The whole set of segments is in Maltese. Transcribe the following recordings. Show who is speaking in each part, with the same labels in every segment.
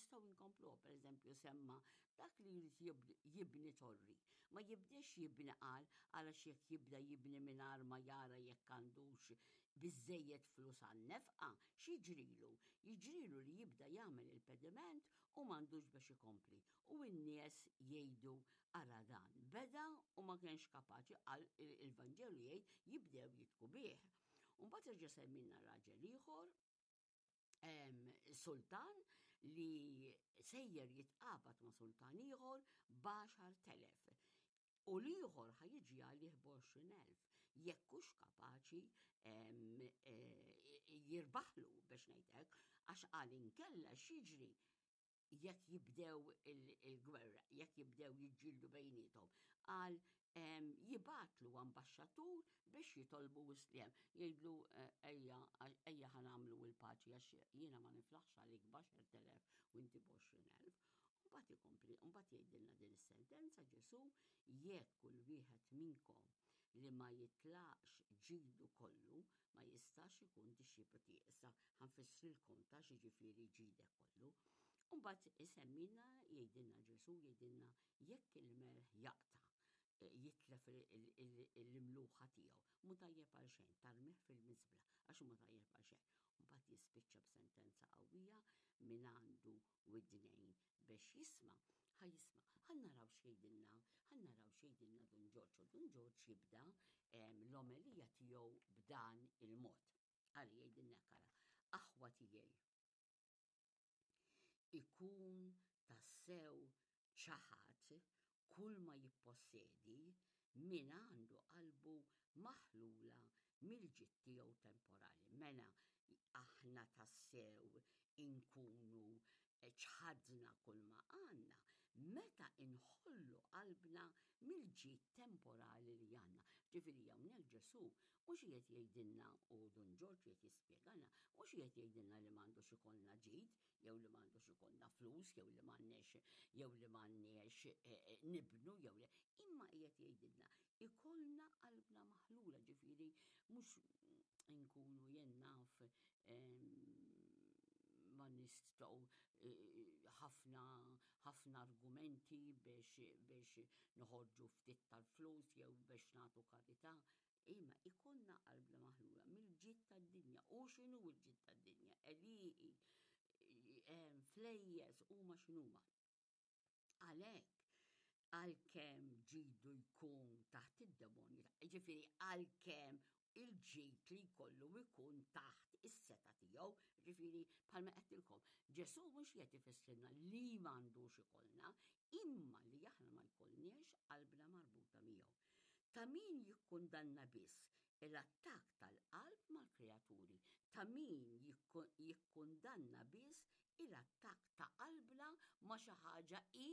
Speaker 1: nistgħu nkompluha, pereżempju semma dak li jrid jibni torri. Ma jibdex jibni qal għalax jekk jibda jibni mingħajr ma jara jekk għandux biżżejjed flus għan-nefqa, x'jiġrilu? Jiġrilu li jibda jagħmel il-pediment u m'għandux biex ikompli. U n-nies jgħidu ara dan beda u ma kienx kapaċi qal il-Vanġelu jgħid jibdew jitku bih. U mbagħad reġa' semmilna raġel ieħor sultan li sejjer jitqabad ma' sultan ieħor b'10,000. U l-ieħor ħa jiġi għalih b'20,000. Jekk hux kapaċi jirbaħlu biex ngħidlek, għax qal inkella x'jiġri jekk jibdew il-gwerra, jekk jibdew jiġġieldu bejniethom, qal jibgħatlu ambaxxatur biex jitolbu isliem. Jgħidlu eh, ejja ejja ħa nagħmlu l-paċi għax jiena ma niflaħx għalik b'10,000 u inti b'20,000. Mbagħad ikompli, mbagħad jgħidilna din is-sentenza Ġesù jekk kull wieħed minnkom li ma jitlaqx ġidu kollu ma jistax ikun dixxiplu tiegħi. Issa ħa nfissrilkom ta' x'jiġifieri ġidek kollu. Mbagħad isemmilna jgħidilna Ġesù jgħidilna jekk il-melħ jaqta' eh, jitlef l-imluħa tiegħu, mhu tajjeb għal xejn, tarmih fil-miżbla għax mhu tajjeb għal xejn. Mbagħad jispiċċa b'sentenza qawwija min għandu widnejn biex jisma', ħa jisma'. Ħa naraw x'jgħidilna, ħa naraw x'jgħidilna Dun Ġorġ. U Dun Ġorġ jibda l-omelija tiegħu b'dan il-mod. Għal jgħidilna kara, aħwa tiegħi. Ikun tassew ċaħat kull ma jippossedi min għandu qalbu maħlula mill-ġid tiegħu temporali. Mela aħna tassew inkunu ċħadna kull ma għandna meta inħollu qalbna mill-ġid temporali li għandna. Ġifieri hawnhekk Ġesù mhux qiegħed jgħidilna u Dun Ġorġ qiegħed jispjegalna, mhux qiegħed jgħidilna li m'għandux ikollna ġid, jew li m'għandux ikollna flus, jew li m'għandniex jew li m'għandniex eh, eh, nibnu jew li imma qiegħed jgħidilna ikollna qalbna maħlula ġifieri mhux inkunu jien naf ma nistgħu eh, ħafna ħafna argumenti biex biex noħorġu ftit tal-flus jew biex nagħtu karità Imma ikollna qalbna maħlula mill-ġid tad-dinja. U x'inhu l-ġid tad-dinja? Għelieqi, flejjes huma x'inhuma. Għalhekk, għalkemm ġidu jkun taħt id-demonju, ġifieri għalkemm il-ġid li jkollu jkun taħt is-seta tiegħu, ġifieri bħalma qedtilkom, Ġesù mhux qed ifissirna li m'għandux ikollna, imma li aħna ma jkollniex qalbna marbuta miegħu. Ta' min jikkundanna biss l-attakk tal-qalb mal-kreaturi, ta' min jikkundanna biss il-attakk ta' qalbna ma' xi ħaġa hi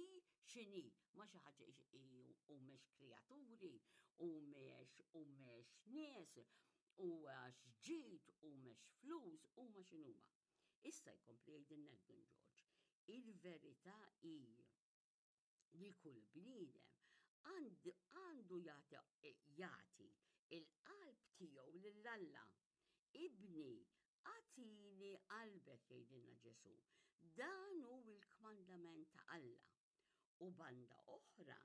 Speaker 1: x'inhi, ma' xi ħaġa hi humiex kreaturi, humiex humiex nies, huwax ġid, humiex flus, huma x'inhuma. Issa jkompli jgħidilna Dun Ġorġ, il-verità hi li kull bniedem għandu jagħti il-qalb tiegħu lil Alla. Ibni, agħtini qalbek jgħidilna Ġesù. Dan hu l-kmandament ta' Alla. U banda oħra,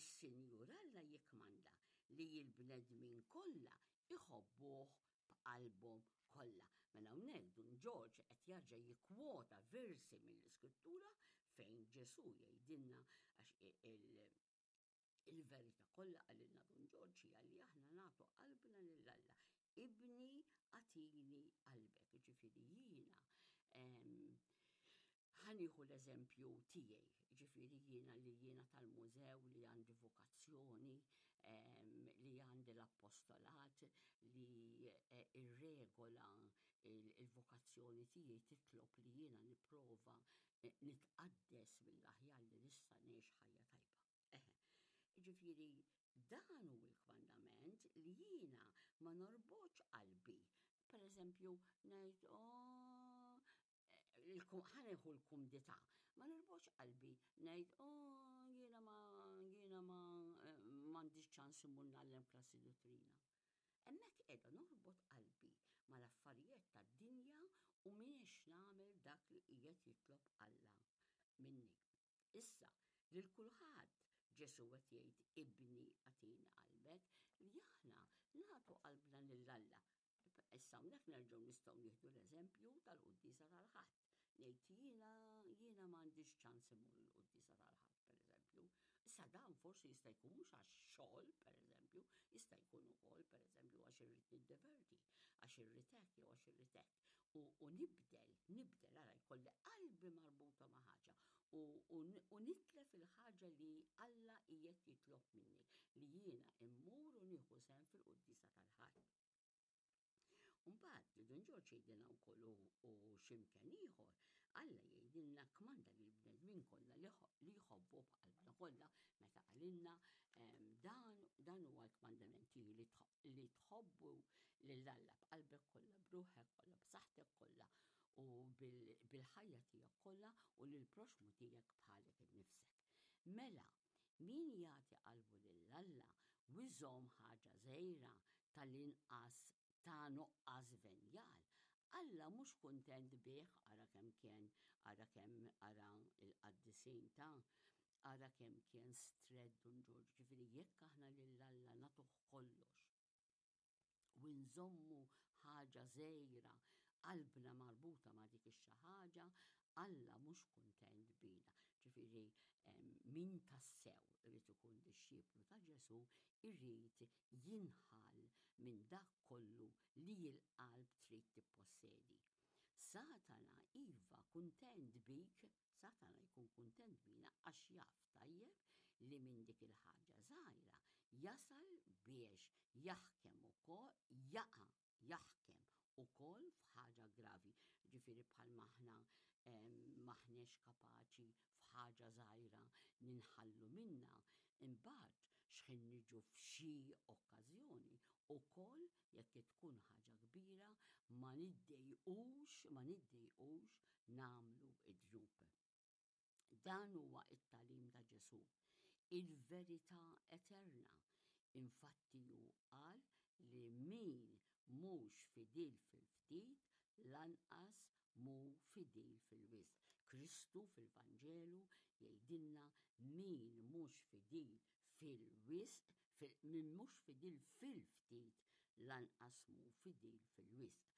Speaker 1: is-Sinjur Alla jikkmanda li l-bnedmin kollha iħobbuh b'qalbhom kollha. Mela hawnhekk Dun Ġorġ qed jarġa' jikkwota versi mill-Iskrittura fejn Ġesù jgħidilna għax il-verità kollha qalilna Dun Ġorġ hija li aħna nagħtu qalbna lil Alla. Ibni agħtini qalbek, ġifieri jiena Ħa nieħu l-eżempju tiegħi, ġifieri jiena li jiena tal-mużew li għandi vokazzjoni, li għandi l-appostolat, li eh, ir-regola il-vokazzjoni tiegħi titlob li jiena nipprova eh, nitqaddes mill-aħjar li nista' ngħix ħajja tajba. Eħe. Ġifieri dan hu l-kmandament li jiena ma norbotx qalbi. Per eżempju, ngħid, oh, ħaneħu l-kumdità. Ma nirbotx qalbi ngħid, oh, jiena ma jiena ma eh, m'għandix ċans immur ngħallem klassi dottrina. Hemmhekk qiegħda norbot qalbi mal-affarijiet tad-dinja u m'iniex nagħmel dak li qiegħed jitlob Alla. Issa, lil kulħadd Ġesù qed jgħid ibni agħtini qalbek, li aħna nagħtu qalbna lil Alla. Issa hawnhekk nerġgħu nistgħu nieħdu l-eżempju tal-quddiesa tal-Ħadd. Ngħid jiena jiena m'għandix ċans immur il-quddiesa tal-Ħadd pereżempju. Issa dan forsi jista' jkun mhux għax xogħol pereżempju, jista' jkun ukoll pereżempju għax irrid niddeverti, għax irrid hekk jew għax irrid hekk. U, u nibdel, nibdel, ara jkolli qalbi marbuta ma' ħaġa u, u, u nitlef il-ħaġa li Alla qiegħed jitlob minni, li jiena immur u nieħu sehem fil-quddiesa tal-Ħadd. Mbagħad Dun Ġorġ jgħidilna wkoll u x'imkien ieħor, Alla jgħidilna kmanda lil bnedmin kollha li jħobbu b'qalbna kollha meta qalilna dan dan huwa l-kmandament tiegħi li tħobbu lil Alla b'qalbek kollha, b'ruħek kollha, b'saħħtek kollha u bil-ħajja tiegħek kollha u lill-proxmu tiegħek bħalek innifsek. Mela, Min jagħti qalbu lil Alla u jżomm ħaġa żgħira tal-inqas ta' nuqqas venjal, Alla mhux kuntent bih, ara kemm kien, ara kemm, ara l-qaddisin ta', ara kemm kien strett Dun Ġorġ, ġifieri jekk aħna lil Alla nagħtuh kollox, u nżommu ħaġa żgħira qalbna marbuta ma' dik ix-xi ħaġa, Alla mhux kuntent bina. Ġifieri min tassew irid ikun dixxiplu ta' Ġesù irid jinħall minn dak kollu li l-qalb trid tippossedi. Satana iva kuntent bik, Satana jkun kuntent bina għax jaf tajjeb li minn dik il-ħaġa żgħira jasal biex jaħkem ukoll jaqa' jaħkem ukoll f'ħaġa gravi. Ġifieri bħalma aħna m'aħniex kapaċi f'ħaġa żgħira ninħallu minnha, imbagħad x'ħin niġu f'xi okkażjoni ukoll jekk tkun ħaġa kbira ma niddejqux ma niddejqux nagħmlu d-dnub. Dan huwa t-tagħlim ta' Ġesù, il-verità eterna. Infatti hu qal li min mhux fidil fil-ftit lanqas mhu fidil fil-wisq. Kristu fil-Vanġelu jgħidilna min mhux fidil fil-wisq, min mhux fidil fil-ftit lanqas mhu fidil fil-wisq.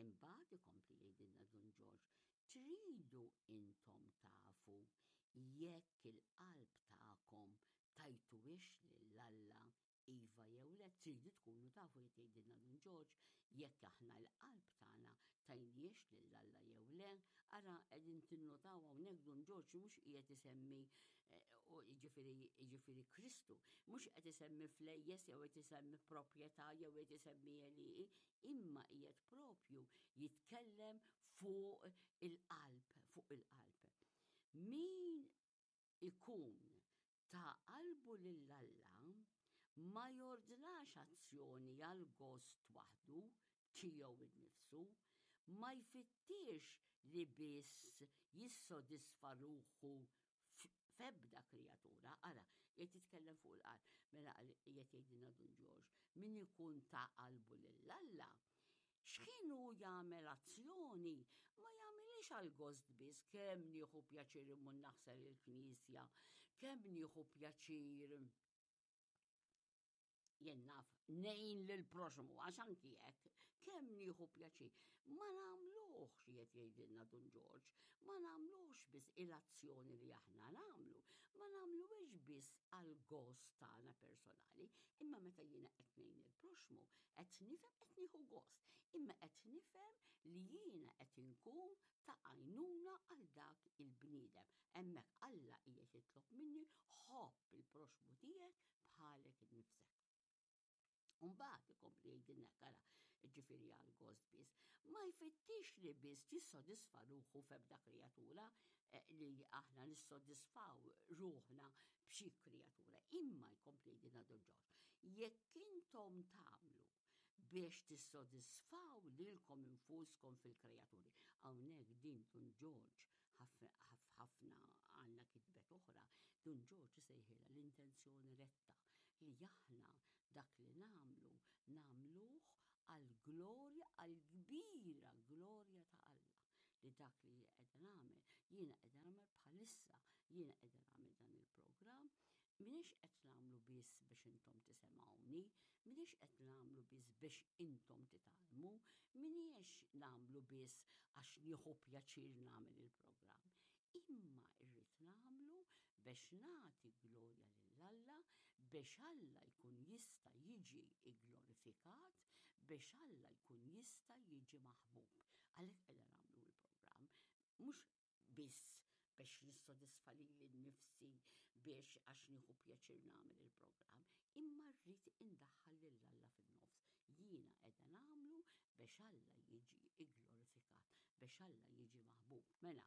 Speaker 1: Imbagħad ikompli jgħidilna Dun Ġorġ, Tridu intom tafu jekk il-qalb tagħkom tajtuhiex lil Alla iva jew le? Tridu tkunu tafu, qed jgħidilna Dun Ġorġ, jekk aħna l-qalb tagħna tajnihiex lil Alla jew le? Ara qegħdin tinnotaw hawnhekk Dun Ġorġ mhux qiegħed isemmi jiġifieri jiġifieri Kristu, mhux qed isemmi flejjes jew qed isemmi proprjetà jew qed isemmi għelieqi, imma qiegħed propju jitkellem fuq il-qalb, fuq il-qalb. Min ikun ta qalbu lil Alla ma jordnax azzjoni għal gost waħdu tiegħu nnifsu, ma jfittix li biss jissodisfa ruħu f'ebda kreatura, ara, qiegħed jitkellem fuq il-qalb, mela qiegħed jgħidilna Dun Ġorġ, min ikun ta qalbu lil Alla, x'ħin hu jagħmel azzjoni, ma jagħmilhiex għal gost biss, kemm nieħu pjaċir immur naħsel il-knisja, kemm nieħu pjaċir jien naf ngħin lill-proxmu għax anki hekk kemm nieħu pjaċir. Ma nagħmluhx qiegħed jgħidilna Dun Ġorġ, ma nagħmluhx biss il-azzjoni li aħna nagħmlu, ma nagħmluhiex biss għal gost tagħna personali, imma meta jiena qed ngħin il-proxmu, qed nifhem qed nieħu gost, imma qed nifhem li jiena qed inkun ta' għajnuna għal dak il-bniedem. Hemmhekk Alla qiegħed jitlob minni ħobb il-proxmu tiegħek bħalek innifsek. Umbagħad ikompli jgħidilna ara, ġifieri għal gost biss, ma jfittix li biss jissodisfa ruħu f'ebda kreatura eh, li aħna nissodisfaw ruħna b'xi kreatura, imma jkompli jgħidilna Don Ġorġ, jekk intom tagħmlu biex tissodisfaw lilkom infuskom fil-kreaturi. Hawnhekk din Dun Ġorġ ħafna għandna kitbet oħra, Dun Ġorġ isejħilha l-intenzjoni retta li aħna dak li nagħmlu nagħmluh għall-glorja, għall-kbira glorja ta' Alla. Li dak li qiegħda nagħmel, jiena qiegħda nagħmel bħalissa, Jiena qiegħda nagħmel dan il-programm, m'iniex qed nagħmlu biss biex intom tisemgħuni, m'iniex qed nagħmlu biss biex intom titgħallmu, m'iniex nagħmlu biss għax nieħu pjaċir nagħmel il-programm, imma rrid nagħmlu biex nagħti glorja lil Alla, biex Alla jkun jista' jiġi gglorifikat, biex Alla jkun jista' jiġi maħbub. Għalhekk qiegħda nagħmlu l-programm, mhux biss biex nissodisfa lili nnifsi biex għax nieħu pjaċir nagħmel il-programm, imma rrid indaħħal lil Alla fin-nofs. Jiena qiegħda nagħmlu biex Alla jiġi gglorifikat, biex Alla jiġi maħbub. Mela,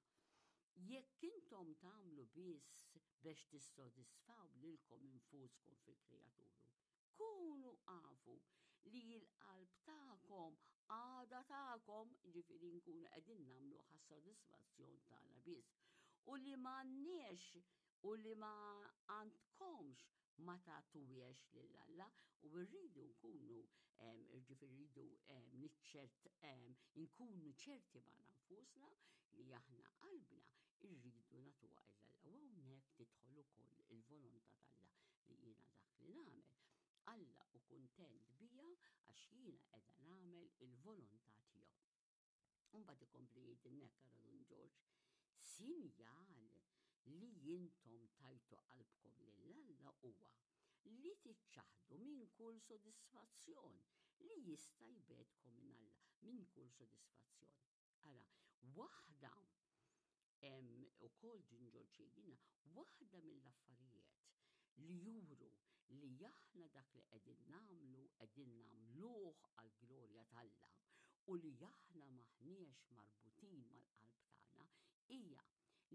Speaker 1: jekk intom tagħmlu biss biex tissodisfaw lilkom infuskom fil-kreaturu, Kunu afu li l-qalb tagħkom għadha tagħkom, jiġifieri nkunu qegħdin nagħmluh għas-sodisfazzjon tagħna biss, u li m'għandniex u li ma għandkomx ma tagħtuhiex lil Alla u rridu nkunu jiġifieri rridu niċċert nkunu ċerti magħna nfusna li aħna qalbna rridu nagħtuha lil Alla. U hawnhekk tidħol ukoll il-volontà t'Alla li jiena dak li nagħmel, Alla hu kuntent bija għax jiena qiegħda nagħmel il-volontà tiegħu. U mbagħad ikompli jgħidilna hekk ara Dun Ġorġ, sinjal li intom tajtu qalbkom lil Alla huwa li tiċċaħdu minn kull sodisfazzjon li jista' jbegħedkom minn Alla, minn kull sodisfazzjon. Ara, waħda ukoll Dun Ġorġ jgħidilna, waħda mill-affarijiet li juru li aħna dak li qegħdin nagħmlu qegħdin nagħmluh għall-glorja t'Alla u li aħna m'aħniex marbutin mal-qalb tagħna hija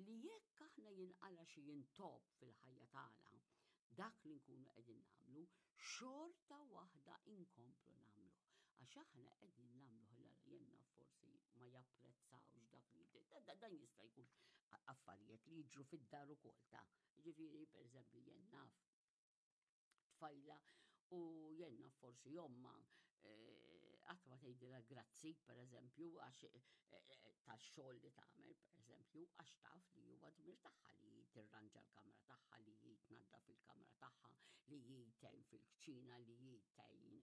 Speaker 1: li jekk aħna jinqala' xi intopp fil-ħajja tagħna, dak li nkunu qegħdin nagħmlu, xorta waħda inkomplu nagħmluh. Għax aħna qegħdin nagħmluh 'l Alla. Jien naf forsi ma japprezzawx dak li dan jista' jkun affarijiet li jiġru fid-dar ukoll ta' Ġifieri, pereżempju, jien naf tfajla u jien naf forsi ommha eh, qatt ma tgħidilha grazzi, pereżempju, għax eh, eh, tax-xogħol li tagħmel, pereżempju, għax taf li huwa dmir tagħha li tirranġa l-kamra tagħha, li hi tnaddaf il-kamra tagħha, li hi tgħin fil-kċina, li hi tgħin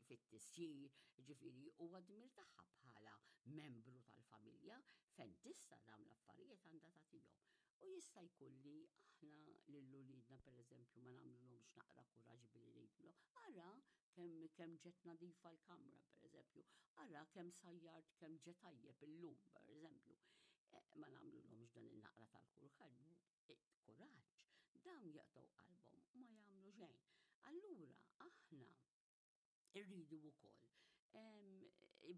Speaker 1: fit-tisjir, ġifieri huwa dmir tagħha bħala membru tal-familja fejn tista' dawn l-affarijiet għandha tagħtihom. U jista' jkun li aħna lil uliedna pereżempju ma nagħmlulhomx naqra kuraġġ billi ngħidulhom ara kemm kemm ġiet nadifa l-kamra pereżempju, ara kemm sajjart kemm ġie tajjeb illum pereżempju. Eh, ma nagħmlulhomx dan in-naqra tal-kuraġġ, eh, kuraġġ, dawn jaqtgħu qalbhom u ma jagħmlu xejn. Allura aħna Irridu wkoll,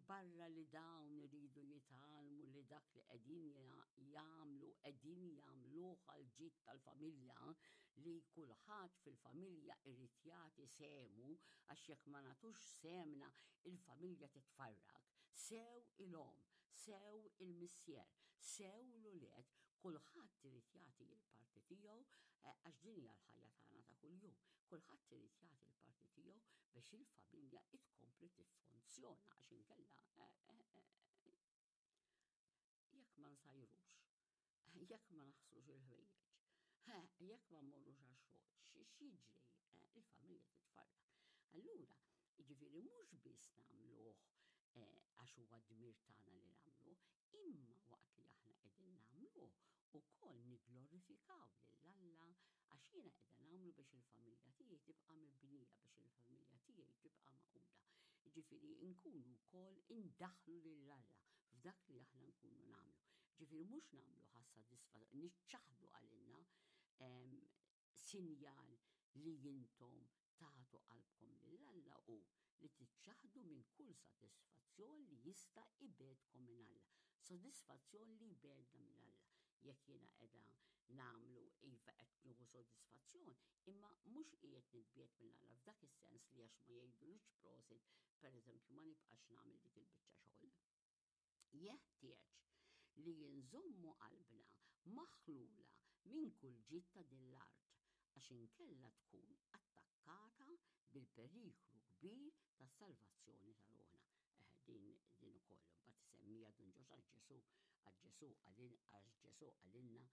Speaker 1: barra li dawn iridu jitgħallmu li dak li qegħdin jagħmlu qegħdin jagħmluh għall-ġid tal-familja, li kulħadd fil-familja irid jagħti sehmu għax jekk ma nagħtux sehemna il-familja titfarrak, sew il-omm, sew il-missier, sew l-ulied, kulħadd irid jagħti l-parti tiegħu għax din hija l-ħajja tagħna ta' kuljum. Kulħadd irid jagħti l-parti tiegħu biex il-familja tkompli tiffunzjona għax inkella eh, eh, eh, jekk ma nsajrux, jekk ma naħslux il-ħwejjeġ, jekk ma mmorrux għax-xogħol, x'jiġri il-familja titfarrak. Allura, jiġifieri mhux biss nagħmluh għax huwa dmir tagħna li nagħmluh, Imma waqt li aħna qegħdin nagħmluh, ukoll nigglorifikaw lil Alla għax jiena qiegħda nagħmlu biex il-familja tiegħi tibqa' mibnija, biex il-familja tiegħi tibqa' magħquda. Jiġifieri nkunu wkoll indaħħlu lil Alla f'dak li aħna nkunu nagħmlu. Jiġifieri mhux nagħmluh għas-sodisfa niċċaħħdu għalina Sinjal li intom tagħtu qalbkom lil Alla hu li tiċċaħħdu minn kull sodisfazzjon li jista' jbegħedkom minn Alla. Sodisfazzjon li jbegħedna minn Alla. Jekk jiena qiegħda nagħmlu iva qed nieħu sodisfazzjon, imma mhux qiegħed nitbiegħed minn Alla f'dak is-sens li għax ma jgħidulix prosit, pereżempju, ma nibqax nagħmel dik il-biċċa xogħol. Jeħtieġ li nżommu qalbna maħlula minn kull ġid ta' din l-art, għax inkella tkun attakkata bil-periklu kbir tas-salvazzjoni ta' ruħna. din din ukoll. Mbagħad isemmija Dun Ġorġ għax Ġesù għax Ġesù qalil għax Ġesù qalilna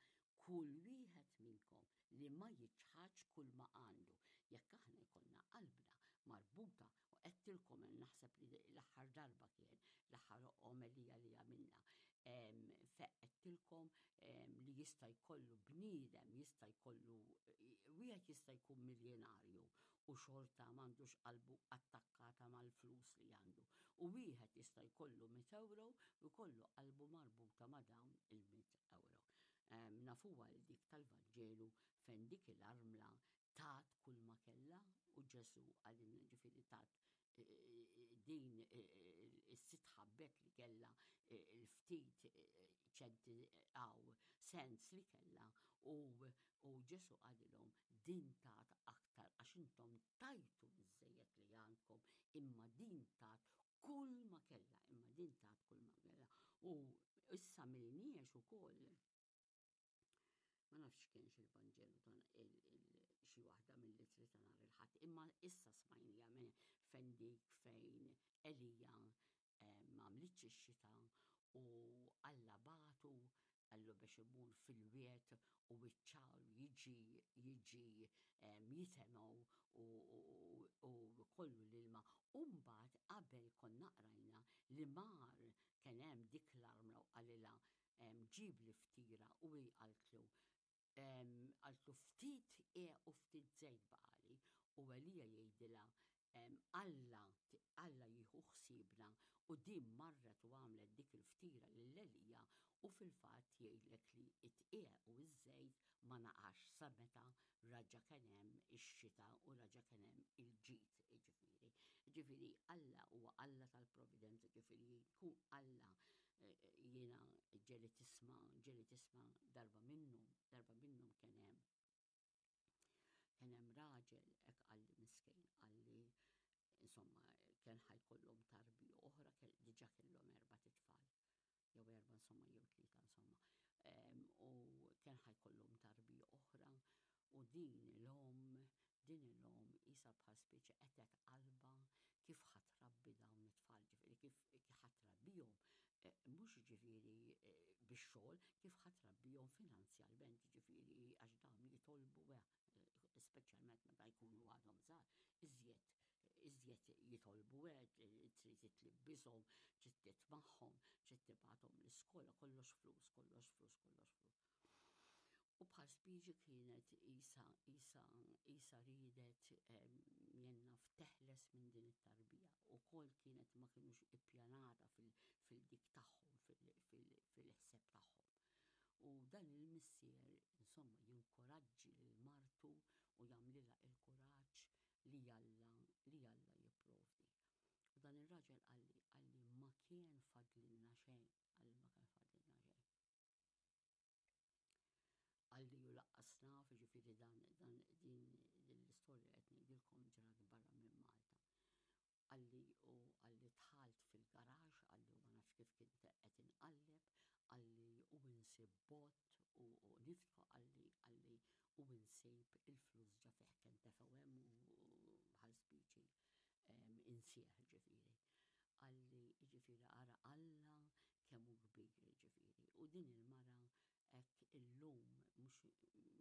Speaker 1: kull wieħed minnkom li ma jiċħadx kull ma għandu. Jekk aħna jkollna qalbna marbuta u għedtilkom naħseb li l-aħħar darba kien l-aħħar omelija li għamilna għedtilkom li jista' jkollu bniedem jista' jkollu wieħed jista' jkun miljonarju u xorta m'għandux qalbu attakkata mal-flus li għandu. U wieħed jista' jkollu mit ewro u jkollu qalbu marbuta ma' dawn il-mit ewro. Nafuha l dik tal-Vanġelu fejn dik il-armla tat kull ma kellha u Ġesù qalilna ġifieri tat din is-sitt ħabbet li kellha il-ftit ċenti għaw sens li kellha u u Ġesù qalilhom din tat aktar għax intom tajtu biżżejjed li għandkom imma din tat kull ma kellha imma din tat kull ma kellha u issa milniex ukoll ma nafx kienx il-Vanġelu ta' xi waħda mill-ittri ta' nhar il-Ħadd, imma issa smajnija minn fejn dik fejn Elija eh, ma għamlitx ix-xita u Alla bagħtu qallu biex imur fil-wied u iċ-ċagħar jiġi jiġi jitemgħu u kollu l-ilma. U mbagħad qabel konna qrajna li mar kien hemm dik l-armla u qalilha ġibli ftira u hi qaltlu qaltlu ftit qiegħ u ftit żejt baqali u Elija jgħidilha Alla Alla jieħu ħsiebna u din marret u għamlet dik il-ftira lil Elija u fil-fatt jgħidlek li t-tqiegħ u ż-żejt ma naqasx sa meta raġa' kien hemm ix-xita u raġa' kien hemm il-ġid jiġifieri. Jiġifieri Alla huwa Alla tal-providenza jiġifieri jkun Alla jiena ġieli tisma' ġieli tisma' darba minnhom darba minnhom kien hemm Kien hemm raġel hekk qalli miskin, qalli insomma kien ħa jkollhom tarbija oħra, diġà kellhom erbat itfal. Jew erba' insomma jew tlieta insomma. U kien ħa jkollhom tarbija oħra u din l-omm din l-omm qisha bħal speċi qetgħet qalbha kif ħa trabbi dawn it-tfal, ġifieri kif ħa trabbihom mhux jiġifieri bix-xogħol, kif ħa trabbihom finanzjalment, jiġifieri għax dawn jitolbu speċjalment meta jkunu għadhom żgħar, iżjed iżjed jitolbu trid tlibbishom, trid titmagħhom, trid tibgħathom l-iskola, kollox flus, kollox flus, kollox flus. U bħal spiġi kienet isa isa isa ridet jien naf teħles minn din it-tarbija. Ukoll kienet ma kinux ippjanata fil-dik tagħhom, fil-ħseb tagħhom. U dan il-missier insomma jinkoraġġi lil martu u jagħmlilha il-kuraġġ li Alla li Alla jipprovdi. U dan ir-raġel qalli qalli ma kien fadlilna xejn, qalli ma kien fadlilna xejn. Qalli u laqqas naf, jiġifieri dan dan din l-istorja qed ngħidilkom ġrat barra minn Malta. Qalli u qalli dħalt fil-garaxx, qalli u ma nafx kif kien qed inqalleb, qalli u insib bott u u niftħu qalli qalli u insib il-flus ġa fih kien tefgħu hemm u bħal spiċi insieħ ġifieri. Qalli jiġifieri ara Alla kemm hu kbir jiġifieri. U din il-mara hekk illum mhux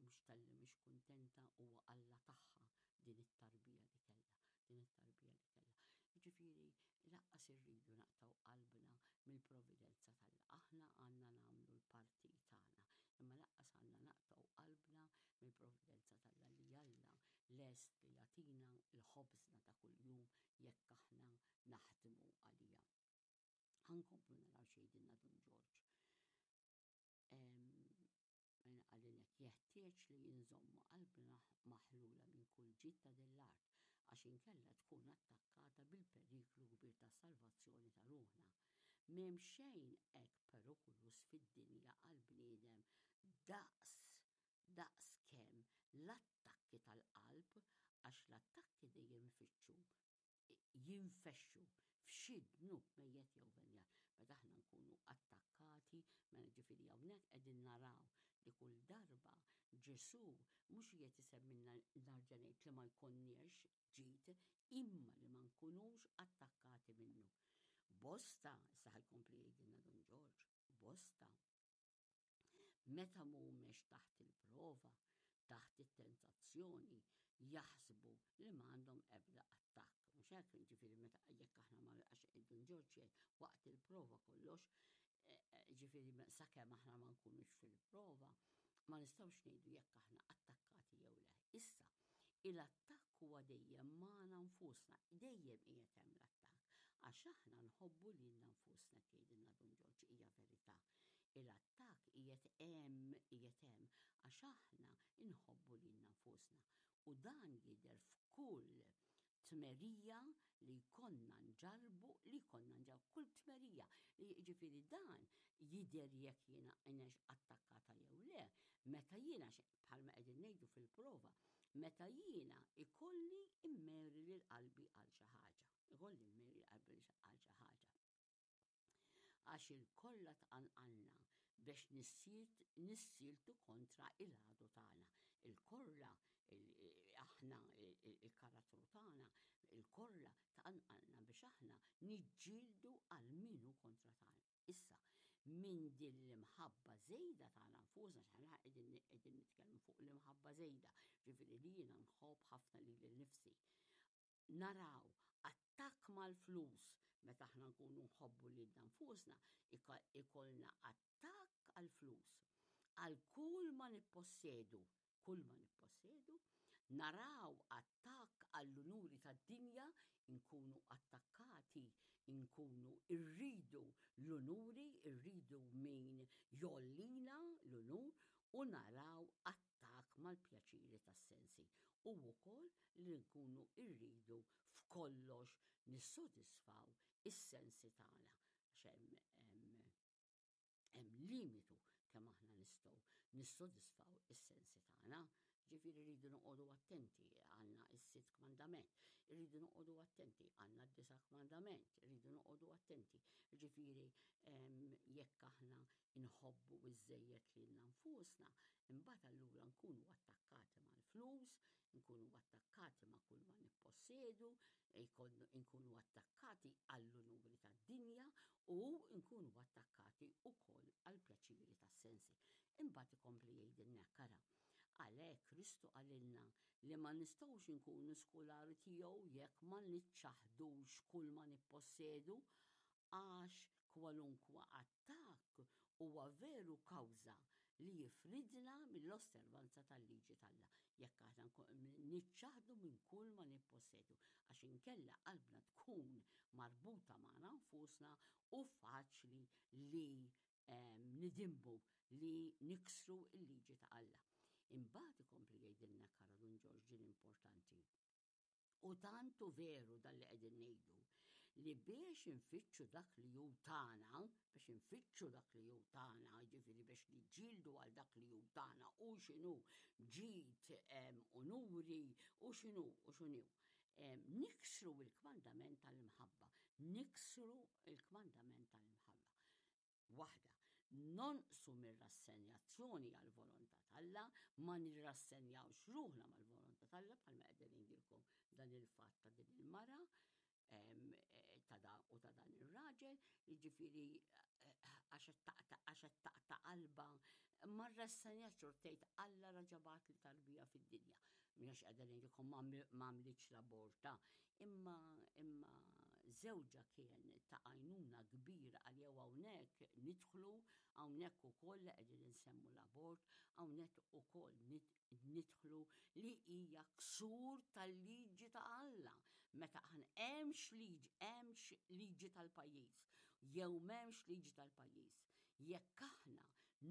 Speaker 1: mhux talli mhix kuntenta huwa Alla tagħha din it-tarbija li kellha, din it-tarbija li kellha. Jiġifieri lanqas irridu naqtgħu qalbna mill-providenza t'Alla. Aħna għandna nagħmlu l-parti tagħna, imma lanqas għandna naqtgħu qalbna mill-providenza t'Alla li Alla lest li jagħtina l-ħobżna ta' kuljum jekk aħna naħdmu għaliha. Ħa nkomplu naraw x'jgħidilna Dun Ġorġ. Mela qalilek jeħtieġ li inżommu qalbna maħlula minn kull ġid ta' din l-art, għax inkella tkun attakkata bil-periklu kbir tas-salvazzjoni ta' ruħna. M'hemm xejn hekk perikoluż fid-dinja għall-bniedem daqs daqs kemm l-attakki tal-qalb għax l-attakki dejjem ifittxu jinfexxu f'xi dnub mejjet jew venjal. Meta aħna nkunu attakkati, mela ġifieri hawnhekk qegħdin naraw li kull darba Ġesù mhux qiegħed isemmilna narġa' ngħid li ma jkollniex ġid, imma li ma nkunux attakkati minnu. Bosta, issa ħa jkompli jgħidilna Dun Ġorġ, bosta. Meta mhumiex taħt il-prova, taħt it-tentazzjoni, jaħsbu li m'għandhom ebda attakk. Mhux hekk, ġifieri meta jekk aħna ma għax Dun Ġorġ jgħid waqt il-prova kollox, eh, eh, ġifieri sakemm aħna ma nkunux fil-prova, ma nistgħux ngħidu jekk aħna attakkati jew le. Issa, il-attakk huwa dejjem magħna nfusna, dejjem qiegħed hemm l-attakk, għax aħna nħobbu lilna nfusna jgħidilna Dun Ġorġ hija verità. Il-attakk qiegħed hemm, qiegħed hemm għax aħna nħobbu lilna nfusna. U dan jidher f'kull tmerija li jkollna nġarrbu, li jkollna nġarrbu, kull tmerija. Jiġifieri dan jidher jekk jiena inex attakkata jew le, meta jiena bħalma qegħdin ngħidu fil-prova, meta jiena ikolli immeri lil qalbi għal xi ħaġa, ikolli mmeri qalbi għal xi ħaġa. Għax il-kollha tqanqalna biex nissieltu kontra il-għadu tagħna. Il-korla, aħna il-karattru tagħna, il-korla tqanqalna biex aħna niġġieldu għal min hu kontra tagħna. Issa, minn din l-imħabba żejda tagħna nfusna, x'aħna qegħdin nitkellmu fuq l-imħabba żejda, ġifieri li jiena nħobb ħafna lili nnifsi. Naraw attakk mal-flus meta aħna nkunu nħobbu lilna nfusna, ikollna attakk għall-flus. Għal kull ma nippossedu, kull ma nippossedu, naraw attakk għall-unuri tad-dinja, inkunu attakkati, inkunu rridu l-unuri, irridu min jgħollina l-unur u naraw attakk mal-pjaċiri tas-sensi u wkoll li nkunu rridu f'kollox nissodisfaw is-sensi tagħna għax hemm hemm limitu kemm aħna nistgħu nissodisfaw is-sensi tagħna. Ġifieri rridu noqogħdu attenti għandna s-sitt kmandament, irridu noqogħdu attenti għandna d-disa' kmandament, irridu noqogħdu attenti. Ġifieri jekk aħna nħobbu iżżejjed lilna nfusna, imbagħad allura nkunu attakkati mal-flus, nkunu attakkati ma' kull ma nippossedu, nkunu attakkati għall-unuri tad-dinja u nkunu attakkati wkoll għall-pjaċiri tas-sensi. Imbagħad ikompli jgħidilna hekk ara. Għalhekk Kristu qalilna li ma nistgħux inkunu skulari tiegħu jekk ma niċċaħdux kull ma nippossedu għax kwalunkwe attakk huwa veru kawża li jifridna mill-osservanza tal-liġi t'Alla, jekk aħna niċċaħħdu minn kull ma nippossedu, għax inkella qalbna tkun marbuta magħna nfusna u faċli li nidinbu, li niksru l-liġi ta' Alla. Imbagħad ikompli jgħidilna Kara Dun Ġorġ din importanti. U tant hu veru dan li qegħdin ngħidu li biex infittxu dak li hu tagħna, biex infittxu dak li hu tagħna, jiġifieri biex niġġieldu għal dak li hu tagħna u x'inhu ġid, unuri u x'inhu u x'inhu. Niksru l-kmandament tal-imħabba, niksru l-kmandament tal-imħabba. Waħda, nonqsu mir-rassenjazzjoni għall-volontà t'Alla, ma nirrassenjawx ruħna mal-volontà t'Alla bħalma qegħdin ngħidilkom dan il-fatt ta' din il-mara eh, ta' dan u ta' dan ir-raġel, jiġifieri eh, għax qed taqta' qalba ma rrassenjax tgħid Alla raġa' bagħatli tarbija fid-dinja. Mhux qiegħda ngħidilkom ma għamlitx l-abort, imma imma żewġha kien ta' għajnuna kbira għalija u hawnhekk nidħlu hawnhekk ukoll li qegħdin insemmu l-abort, hawnhekk ukoll nidħlu li hija ksur tal-liġi ta' Alla. Meta aħna hemmx liġi, hemmx liġi tal-pajjiż, jew m'hemmx liġi tal-pajjiż. Jekk aħna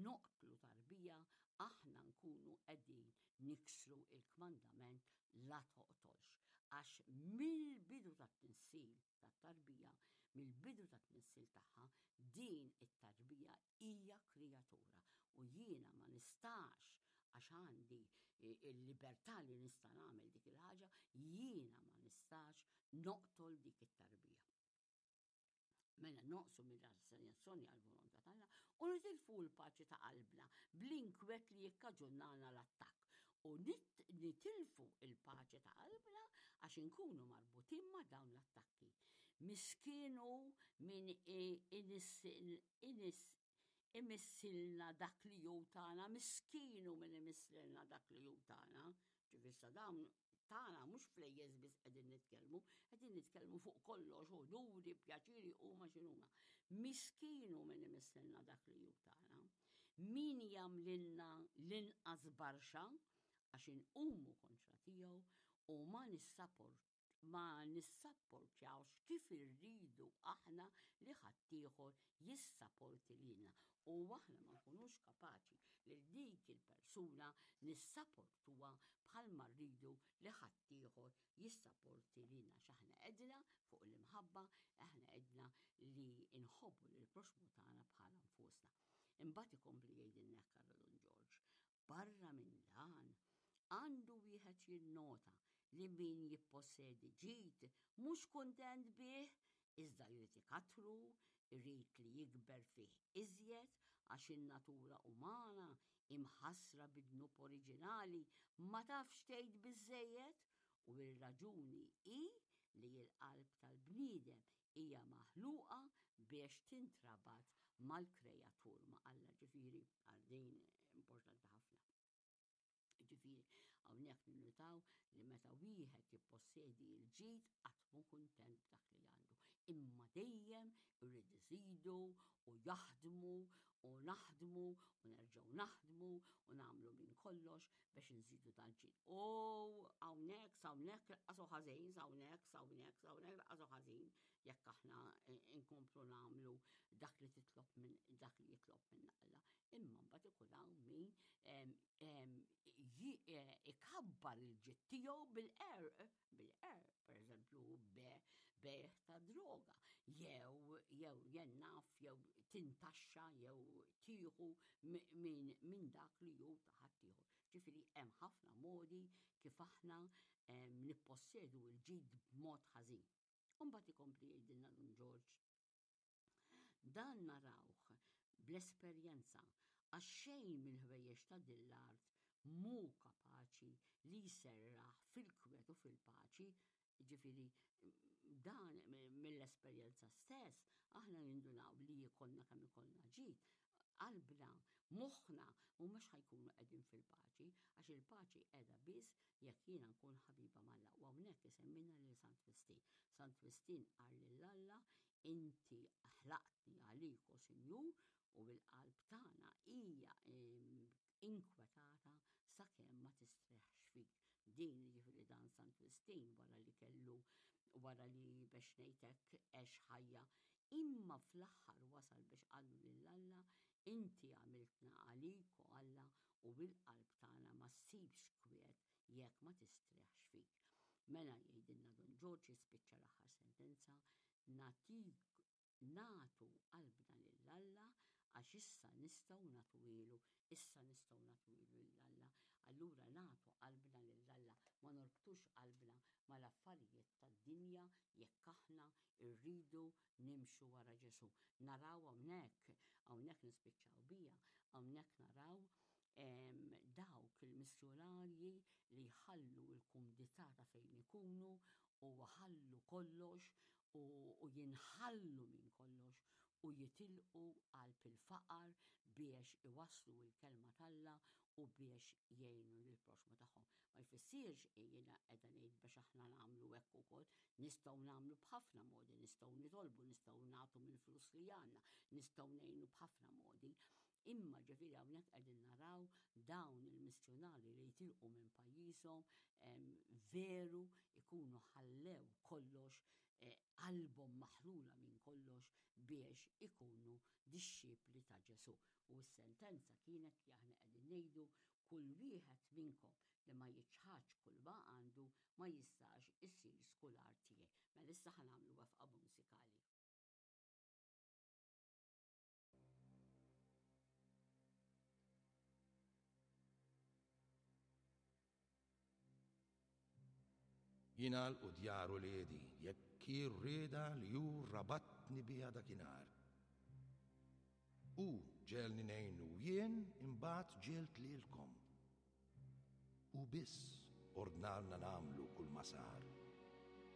Speaker 1: noqtlu tarbija, aħna nkunu qegħdin niksru il-kmandament la toqtolx. Għax mill-bidu tat-tnissil tat-tarbija, mill-bidu tat-tnissil tagħha, din it-tarbija hija kreatura. U jiena ma nistax, għax għandi il-libertà li nista' nagħmel dik il-ħaġa, jiena ma nistax noqtol dik it-tarbija. Mela noqsu mir-rassenjazzjoni għall-volontà t'Alla u nitilfu l-paċi ta' qalbna bl-inkwet li jikkaġunana l-attakk. U nitilfu l-paċi ta' qalbna għax inkunu marbutin ma' dawn l-attakki. Miskin hu min imissilna dak li hu tagħna, miskin hu min imissilna dak li hu tagħna. Ġifieri sa dawn tagħna mhux flejjes biss qegħdin nitkellmu, qegħdin nitkellmu fuq kollox, unuri, pjaċiri huma x'inhuma. Miskin hu min imissilna dak li hu tagħna. Min jagħmlilna l-inqas barxa għax inqumu kontra tiegħu u ma nissaport ma nissapportjawx kif irridu aħna li ħaddieħor jissaporti lilna u aħna ma nkunux kapaċi lil dik il-persuna nissaportuha bħalma rridu li ħaddieħor jissaporti lilna għax aħna għedna fuq l-imħabba, aħna għedna li nħobbu lill-proxxmu tagħna bħala nfusna. Imbagħad ikompli jgħidilna hekk Karol Dun Ġorġ, Barra minn dan, għandu wieħed jinnota li min jippossedi ġid mhux kuntent bih iżda jrid ikattru, irid li jikber fih iżjed għax in-natura umana, imħassra bid-dnub oriġinali, ma tafx tgħid biżżejjed u r-raġuni hi li l-qalb tal-bniedem hija maħluqa biex tintrabat mal-Kreatur, ma' Alla, ġifieri għal din importanti ħafna. Ġifieri hawnhekk ninnutaw li meta wieħed jippossedi l-ġid qatt mhu kuntent b'dak li għandu, imma dejjem irid iżidu u jaħdmu u naħdmu u nerġgħu naħdmu u nagħmlu minn kollox biex inżidu dal-ġid. U hawnhekk s'hawnhekk laqqas hu ħażin, s'hawnhekk, s'hawnhekk, s'hawnhekk laqqas hu ħażin jekk aħna nkomplu nagħmlu dak li titlob minn dak li jitlob minn Alla. Imma mbagħad ikun hawn min ikabbar il-ġid tiegħu bil-qerq, bil-qerq, pereżempju bejgħ ta' droga, jew jew jien naf jew tintaxxa jew tieħu minn dak li hu ta' ħaddieħor. Ġifieri hemm ħafna modi kif aħna nippossedu l-ġid b'mod ħażin. U mbagħad ikompli jgħidilna Dun Ġorġ Dan narawh bl-esperjenza għax xejn mill-ħwejjeġ ta' din l-art mhu kapaċi li jserraħ fil-kwiet u fil-paċi. Jiġifieri dan mill-esperjenza stess aħna nindunaw li jkollna kemm ikollna ġid, qalbna, moħħna mhumiex ħa jkunu qegħdin fil-paċi għax il-paċi qiegħda biss jekk jiena nkun ħabiba m'Alla. U hawnhekk isemmilna lil Sant Wistin. Sant Wistin qal lil Alla Inti ħlaqtni għalik, o Sinjur, u l-qalb tagħna hija inkwetata sakemm ma tistrieħx fik. Din, jiġifieri dan Sant Wistin wara li kellu wara li biex ngħid hekk għex ħajja, imma fl-aħħar wasal biex qallu lil Alla, Inti għamiltna għalik, o Alla, u l-qalb tagħna ma ssibx kwiet jekk ma tistrieħx fik. Mela jgħidilna Dun Ġorġ jispiċċa l-aħħar sentenza, nagħtik nagħtu qalbna lil Alla għax issa nistgħu nagħtuhielu, issa nistgħu nagħtuhielu lil Alla. Allura nagħtu qalbna lil Alla, ma norbtux qalbna mal-affarijiet tad-dinja jekk aħna rridu nimxu wara Ġesù. Naraw hawnhekk, hawnhekk nispiċċaw biha, hawnhekk naraw dawk il-missjunarji li jħallu l-kumdità ta' fejn ikunu u jħallu kollox u jinħallu minn kollox u jitilqu qalb il-faqar biex iwasslu l-kelma t'Alla u biex jgħinu lill-proxxmu tagħhom. Ma jfissirx jiena qiegħda ngħid biex aħna nagħmlu hekk ukoll, nistgħu nagħmlu b'ħafna modi, nistgħu nitolbu, nistgħu nagħtu mill-flus li għandna, nistgħu ngħinu b'ħafna modi. Imma ġifieri hawnhekk qegħdin naraw dawn il-missjunarji li jitilqu minn pajjiżhom veru ikunu ħallew kollox eh, qalbhom maħlula minn kollox biex ikunu dixxipli ta' Ġesù. U s-sentenza kienet li aħna qegħdin ngħidu kull wieħed minnkom li ma jiċħadx kull ma għandu ma jistax isir skular tiegħi. Mela issa ħa nagħmlu wefqa mużikali.
Speaker 2: Jingħalqu djar uliedi jekk hi r-rieda li hu rabatni biha dakinhar. Hu ġegħelni ngħinu u jien imbagħad ġegħelt lilkom. Hu biss ordnalna nagħmlu kulma sar.